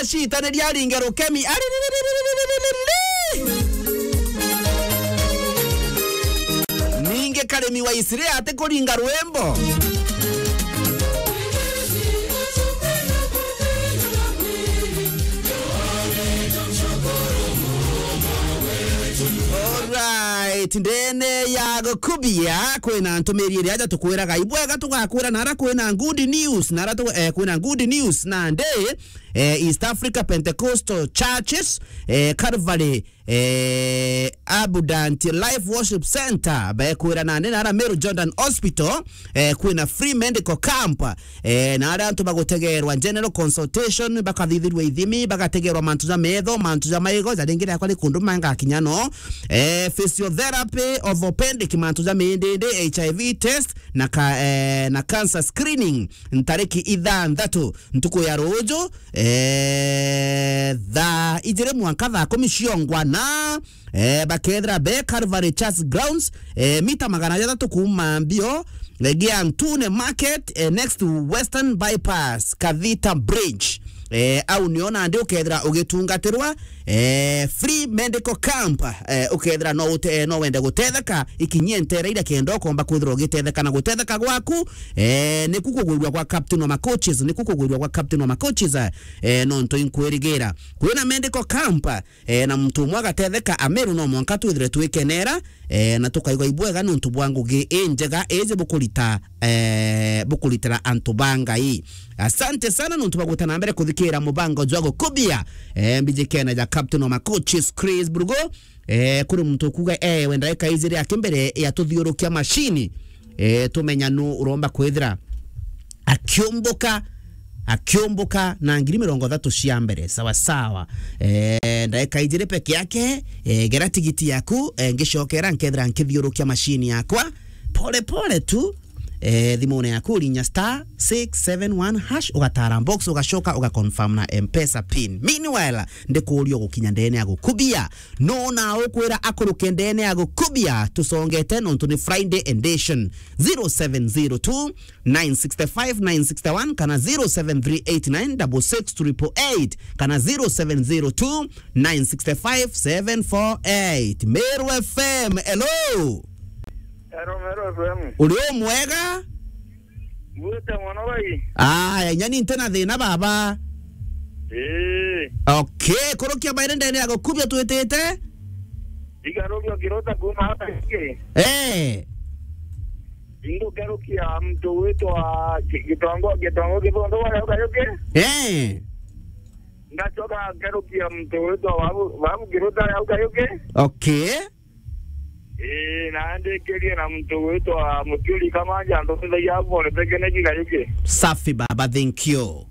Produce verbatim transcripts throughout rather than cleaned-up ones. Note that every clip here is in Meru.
Citaniria aringe rukemi. Aririririririririri. Ningi Karimi wa Isire atikuringa rwimbo. Alright, ndene ya gukubia kwina ntumiri iria aja tukwiraga ibwega tugakwira nara kwina good news, nara tu, eh, kwina good news nandi, eh, East Africa Pentecostal Churches, eh, Calvary, eh, Abundant Life Worship Center, bekwira nandi nara Meru Jordan Hospital, eh, kwina free medical camp, eh, na aria antu bagutegerwa general consultation, bakathithirwa ithimi, bagategerwa mantu ja metho, mantu ja maigo, ja ringi riakwa ni kundu mangakinya no, eh, physiotherapy, orthopedic, mantu ja mindindi, H I V test, na ka, eh, na cancer screening, ntariki ithanthatu ntuku ya ruju, eh, thaa ijiri mwanka thaa kumi ciongwa na, eh, bakethira be Calvary Church Grounds, eh, mita magana jathatu kuuma mbio, eh, gia Ntune Market, eh, next to Western Bypass, Kathita Bridge. Eh, au nio nandi ukethira ugitungatirwa, eh, free medical camp, eh, ukethira no ute-, no wende gutetheka, ikinyie ntere iria kenda ukomba kwithirwa ugitetheka na gutetheka gwaku, eh, niku kugwirua gwa captain wa ma coaches, niku kugwirua gwa captain wa ma coaches, eh, nontu inkwirigira. Kwina medical camp, eh, na muntu umwe agatetheka, Ameru no mwanka twithire twikenera, eh, na tukaigua ibwega nontu bwa ngugi injega iji bukurita, eh, bukuritira antu ba Ngai. Asante sana nontu bwa gwita na mbere kuthikira mubango jwa gukubia, eh, mbijikene ja captain wa ma coaches Chris Brugo. Eh, kuri muntu ukuga, eh, we ndaika ijiri aki mbere ya tuthiurukia mashini, eh, tumenya nu uromba kwithira akiumbuka, akiumbuka na ngiri mirongo ithatu cia mbere. Sawa sawa. Eh, ndaika ijiri peke yake, eh, gera tigiti yaku, eh, ngicokera nkethira nkithiurukia mashini yakwa pole pole tu. Eh, thimune yaku urinya star six seven one hash, ugatara box, ugacoka ugaconfirm na M-Pesa pin. Meanwhile, ndikuuria gukinya ndene ya gukubia. No na ukwira akuruke ndene ya gukubia, tusongete nontu ni Friday edition. Zero seven zero two, nine six five, nine six one kana zero seven three eight nine double six triple eight kana zero seven zero two, nine six five, seven four eight. Meru F M, hello. Hello, Meru F M. Uri o mwega? Ngwite mono bai. Aya, inya ni nti na thina baba. Ii. Okay, kurukia baire ndene ya gukubia twitite? Igarukia kirota kuma hata ingi. Eh. Ingukerukia mtu witwa Gi-, Gitongo, Gitongo Githundu wa Gayuki. Eh. Ngacoka nkerukia mtu witwa Babu, Babu Kirota wa Gayuki. Okay. Ii, na ndikirie na muntu gwitwa Muturi Kamanja, antu thagia bone peke ne Gayuki. Safi baba, thank you.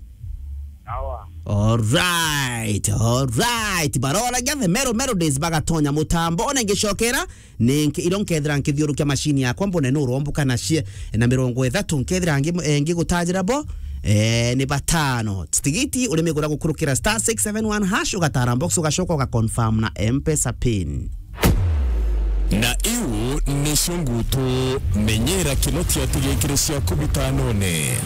Sawa. Alright, alright. Baroragia the Meru Melodies bagatonya mutambo, ona ngicokera, ninki-, iro nkethira nkithiurukia mashini yakwa, mbone nu urombuka na cie-, na mirongo ithatu, nkethira ngi-, eh, ngigutajira bo, eh, ni batano. Tigiti urimigura gukurukira star six seven one hash, ugatara box, ugacoka ugaconfirm na M-Pesa pin. Na iu nicio ngutu, menyera kinoti atigikire ciaku bitanone.